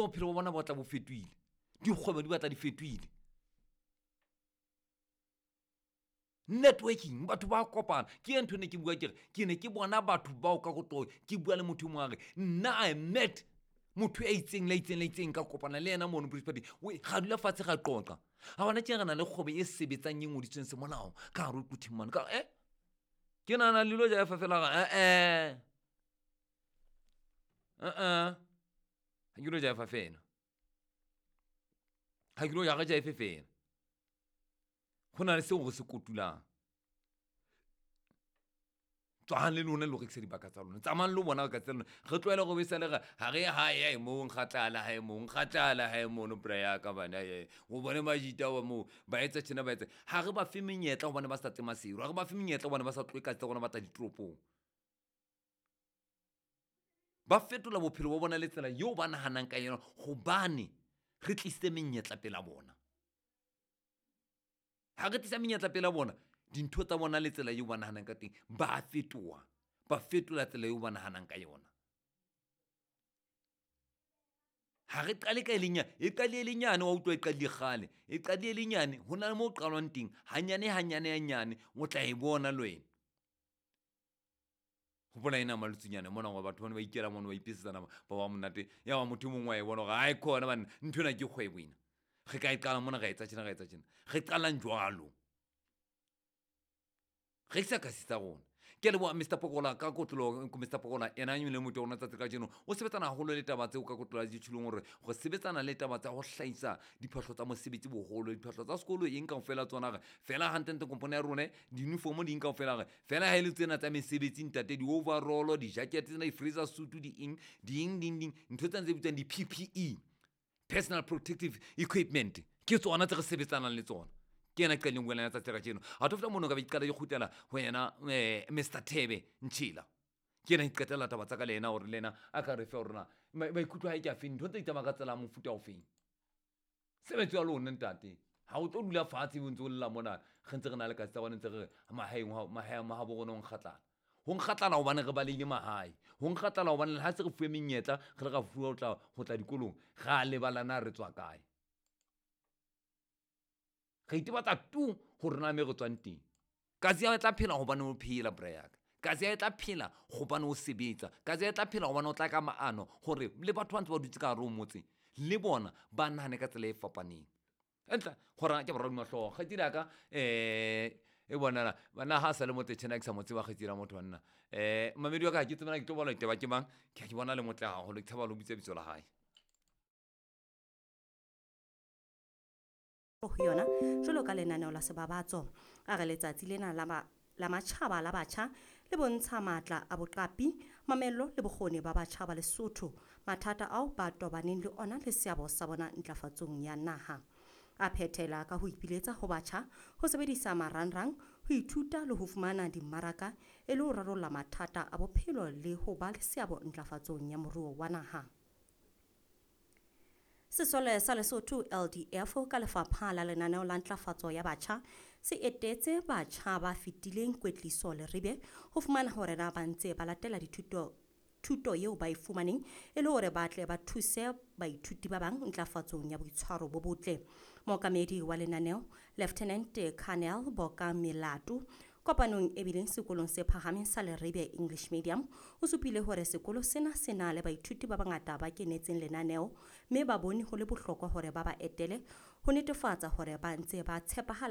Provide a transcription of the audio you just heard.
Bophelo ba bona bo tla bo fetohile, dikgwebo di batla di fetohile. Networking, batho ba kopana. Ke e ntho ne ke bua ke re ke ne ke bona batho bao ka koto, ke bua le motho e mongwe a re nna I met motho ya itseng le itseng le itseng, ka kopana le yena mono British Party, ga dula fatshe ga qoqa. A bona tje re na le kgwebo e sebetsang e ngodisitsweng semolao ka hare ho Quthing mane. Ka ke nahana le lo jaefa fela ga ga ke lo jaefa fela, ga ke lo ja ga jaefe fela. Go na le seo re se kotulang. Tswang le lona le lo rekisa dibaka tsa lona, tsamayang le bona ka tsa lona. Re tlohele go besa le re ha re hae moo nkgatlala hae moo nkgatlala hae mono bra ya ka bana o bone majita wa moo ba etsa tjena ba etsa. Ha re ba fe menyetla hobane ba sa tle Maseru, ha re ba fe menyetla hobane ba sa tlohe ka tsa rona ba tla ditoropong. Ba fetola bophelo ba bona le tsela eo ba nahanang ka yona hobane re tlisitse menyetla pela bona. Ha re tlisa menyetla pela bona, dintho tsa bona le tsela eo ba nahanang ka teng ba fetoha, ba fetola tsela eo ba nahanang ka yona. Ha re qale ka e lenyane, e qadile e lenyane, wa utlwa e qadile kgale, e qadile e lenyane. Ho na le moo qalwang teng hanyane hanyane hanyane, o tla e bona le wena. Hopola ena malotsunyana mona hore batho bana ba ikela mono ba ipesetsa nama ba ba monate. Ya ba motho e mongwe wa e bona hore ai khona banna, ntho ena ke kgwebo ena. Re ka e qala mona, ra etsa tjena, ra etsa tjena. Re qalang jwalo. Rekisa kasi tsa rona. Ke a leboha Mr Pokola ka kotlolo. Mr Pokola ena e le motho wa rona tsatsi kajeno, o sebetsana haholo le taba tseo ka kotlolo ya ditjhulong, hore re sebetsana le taba tsa ho hlahisa diphahlo tsa mosebetsi boholo, diphahlo tsa sekolo eng kaofela tsona. Re fela hantlentle kompone ya rona, di-uniform di eng kaofela, re fela ha e le tsena tsa mesebetsi ntate, di-overall, di-jacket tsena, di-freezer suit, di eng di eng ding ding, ntho tsena tse bitswang di-PPE, personal protective equipment, ke tsona tse re sebetsanang le tsona. Ke yena qadileng buela tsatsi la kajeno. Ha to fihla mono ka be ke qala ke kgutlela ho yena Mr Thebe Ntšhila. Ke yena ke qetella taba tsa ka le yena hore le yena a ka re fe hore na maikutlo a hae ke a feng, ntho tse di tsamaya ka tsela ya mofuta o feng. Sebetso ya lona ntate, ha o tlo dula fatshe o ntse o lla mona, re ntse re na le kasi tsa rona, ntse re re mahaeng mahabo rona ho nkgatlana. Ho nkgatlana hobane re balehile mahae, ho nkgatlana hobane le ha se re fuwe menyetla, re le ra fuwa ho tla dikolong, ra lebala na re tswa kae. Re itebatsa tu hore na me re tswang teng. Kasi ya tla phela hobane o phela bra ya ka. Kasi ya tla phela hobane o sebetsa. Kasi ya tla phela hobane o tla ka maano hore le batho ba ntse ba dutse ka hare ho motse le bona ba nahane ka tsela e fapaneng. Entla hora ke boraro mahlooho kgaitsedi ya ka e bonala bana ha sa le motle tjhena ke sa mo tseba kgaitsedi ya motho wa nna. Mamedi wa ka ha ke tsebana ke tlo bala ditaba ke mang, ke a ke bona le motle haholo, ke tshaba le ho bitsa bitso la hae. Ho yona jwalo ka lenaneo la sebabatso. A re letsatsi lena la matjhaba la batjha le bontsha matla a boqapi, mamello le bokgoni ba batjha ba Lesotho, mathata ao ba tobaneng le ona le seabo sa bona ntlafatsong ya naha. A phethela ka ho ipiletsa ho batjha ho sebedisa marangrang ho ithuta le ho fumana dimmaraka e le ho rarolla mathata a bophelo le ho ba le seabo ntlafatsong ya moruo wa naha. Sesole sa Lesotho LDF ka lefapha la lenaneo la ntlafatso ya batjha se etetse batjha ba fetileng kwetliso Leribe ho fumana hore na ba ntse ba latela dithuto thuto eo ba e fumaneng e le hore ba tle ba thuse baithuti ba bang ntlafatsong ya boitshwaro bo botle. Mookamedi wa lenaneo Lieutenant Colonel Boka Melato kopanong e bileng sekolong se phahameng sa Leribe English Medium o supile hore sekolo sena se na le baithuti ba bangata ba kenetseng lenaneo mme ba bone ho le bohlokwa hore ba ba etele ho netefatsa hore ba ntse ba tshepahalla.